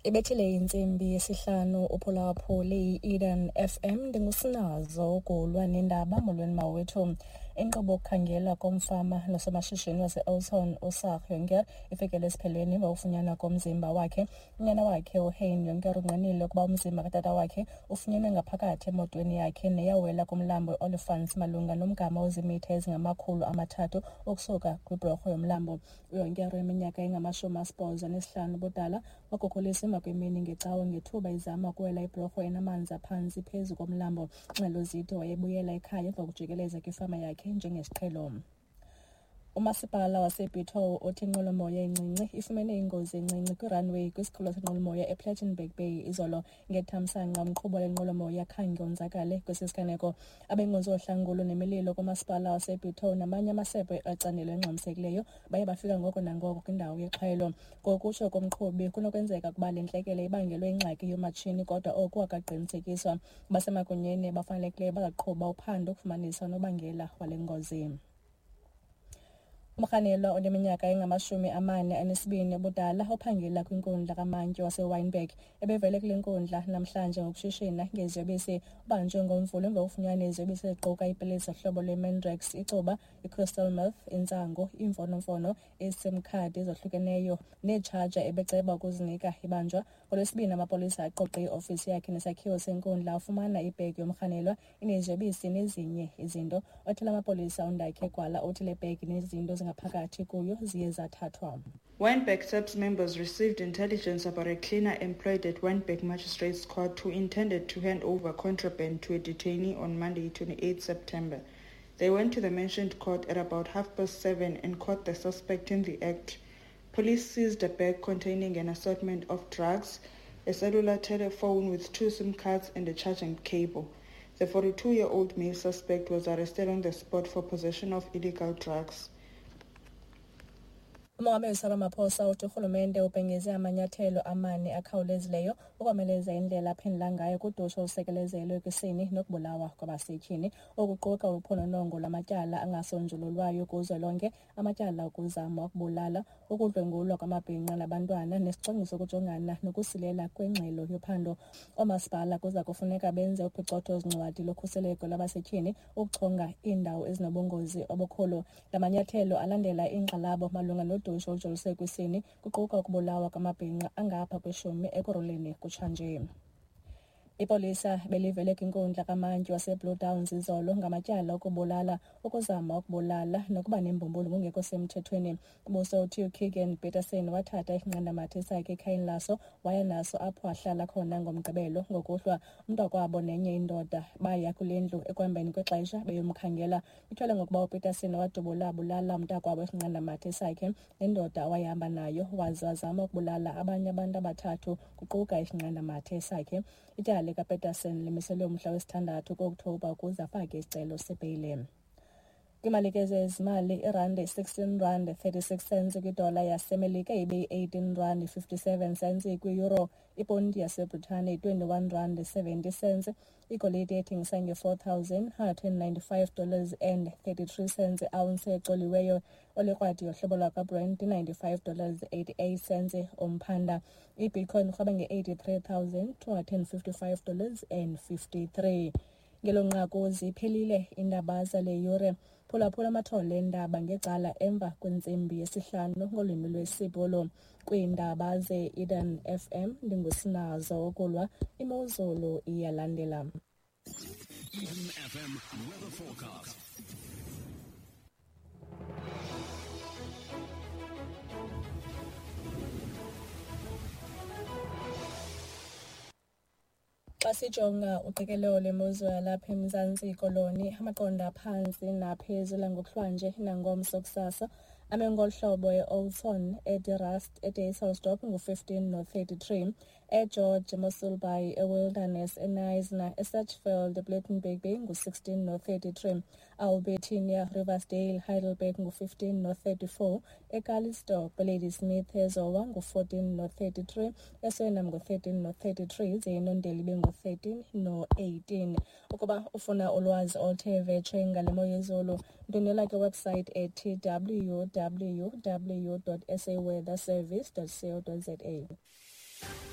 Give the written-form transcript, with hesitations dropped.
Ibethile intsimbi yesihlanu uphulaphuli i-Eden FM. Ndingusinazo ukulwa nendaba. Molweni mawethu. Inkqubo yokukhangelwa komfama nosomashishini wase-Oudtshoorn uSaag Jonker ifikele esiphelweni emva kokufunyanwa komzimba wakhe. Unyana wakhe uHein Jonker ungqinile ukuba umzimba katata wakhe ufunyenwe ngaphakathi emotweni yakhe neyawela kumlambo iOlifants malunga nomgama oziimitha ezingama-300 ukusuka kwibhorho yomlambo. UJonker oneminyaka engama-85 ubudala wakhukhuliswa emva kwemini ngeCawe ngethuba ezama ukuwela ibhorho enamanzi aphantsi phezu komlambo. Iingxelo zithi wayebuyela ekhaya emva kokujikeleza kwifama yakhe njengesiqhelo. Umasipala waseBitou uthi inqwelomoya encinci ifumene ingozi encinci kwi-runway kwisikhululo senqwelomoya ePlettenberg Bay izolo. Ngethamsanqa umqhubi wale nqwelomoya khange onzakale kwesi siganeko. Abenkonzo yohlangulo nemililo kumasipala waseBitou namanye amasebe ecandelo elingxamisekileyo baye bafika ngoko nangoko kwindawo yexhwayelo. Ngokutsho komqhubi, kunokwenzeka ukuba le ntlekele ibangelwe yingxaki yomatshini, kodwa oku akaqinisekiswa. Abasemagunyeni abafanelekileyo bazaqhuba uphando ukufumanisa unobangela wale ngozi. Umrhanelwa oneminyaka engama-42 ubudala ophangela kwinkundla kamantyi waseWynberg ebevele kule nkundla namhlanje ngokushishina ngeziyobisi. Ubanjwe ngoMvulo emva kokufunyanwa neziyobisi eziquka iipilisi zohlobo lweMandrax, icuba, i-crystal meth, intsangu, iimfonomfono, iiSIM card ezohlukeneyo neetshaja ebeceba ukuzinika ibanjwa. NgoLwesibini amapolisa aqoqe iofisi yakhe nesakhiwo senkundla afumana ibhegi yomrhanelwa ineziyobisi nezinye izinto. Othela amapolisa uNdakhe Gwala uthi le bhegi nezinto zingaphakathi kuyo ziye zathathwa. Wynberg SAPS members received intelligence about a cleaner employed at Wynberg Magistrates Court who intended to hand over contraband to a detainee on Monday, 28 September. They went to the mentioned court at about 7:30 and caught the suspect in the act. Police seized a bag containing an assortment of drugs, a cellular telephone with 2 SIM cards and a charging cable. The 42-year-old male suspect was arrested on the spot for possession of illegal drugs. Umongameli Cyril Ramaphosa uthi urhulumente ubhengeze amanyathelo amane akhawulezileyo ukomeleza indlela aphendula ngayo kudushe olusekelezelwe kwisini nokubulawa kwabasetyhini, okuquka uphononongo lwamatyala angasonjululwayo kuzwelonke, amatyala okuzama ukubulala, ukudlwengulwa kwamabhinqa nabantwana, nesicwangciso sokujongana nokusilela kwengxelo yophando. Oomasipala kuza kufuneka benze uphicotho-zincwadi lokhuseleko lwabasetyhini ukuchonga iindawo ezinobungozi obukhulu. La manyathelo alandela iinkxalabo malunga nodushe olujoliswe kwisini, kuquka ukubulawa kwamabhinqa angapha kweshumi Ekurhuleni kutshanje. Ipolisa belivele kwinkundla kamantyi waseBlue Downs izolo ngamatyala okubulala, ukuzama ukubulala nokuba nembumbulu ngokungekho semthethweni. Ubuso uthi uKeegan Petersen wathatha isinqandamathe sakhe ekhayeni laso waya naso apho ahlala khona ngoMgqibelo ngokuhlwa. Umntakwabo nenye indoda baya kule ndlu ekuhambeni kwexesha beyomkhangela. Kutyholwa ngokuba uPetersen wadubula abulala umntakwabo isinqandamathe sakhe nendoda awayehamba nayo, waze wazama ukubulala abanye abantu abathathu kuquka isinqandamathe sakhe. Ityala likaPetersen limiselwe umhla wesithandathu kuOkthobha ukuze afake isicelo sebheyile. Kwimalike zezimali, irandi 16 rand 36 cents kwidola yaseMelika, ibe yi-18 rand 57 cents kwi-euro, iponti yaseBritane 21 rand 70 cents, igolide ethengisa nge-$4,195 dollars and 33 cents ounce ecoliweyo, olikrwadi yohlobo lwakwaBrent 95 dollars 88 cents umphanda. Ibitcoin irhweba nge-$83,255 dollars and 53. Ngelo nqaku ziphelile iindaba zale yure. Phulaphula amathole eendaba ngecala emva kwentsimbi yesihlanu ngolwimi lwesiBhulu. Kwiindaba ze-Eden FM ndingusinazo ukulwa imozulu iyalandela. Eden FM weather forecast. Xa sijonga uqikelelo lwemozulu yalapha eMzantsi Koloni, amaqondo aphantsi naphezulu angokuhlwanje nangomso kusasa ame ngolu hlobo: e-Oudtshoorn, eDe Rust, eDysselsdorp ngu-15 no-33, eGeorge, eMossel Bay, eWilderness, eKnysna, eSachsfield, ePlettenberg Bay ngu-16 no-33, Albertinia, Riversdale, Heidelberg ngu-15 no-34, eCalitzdorp, eLadysmith, eZowa ngu-14 no-33, eSuriname ngu-13 no-33, ze iNondeli ibe ngu-13 no-18. Ukuba ufuna ulwazi oluthe vetshe ngale mo yezulu, ndwendwela kwiwebsite ethi www.saweatherservice.co.za.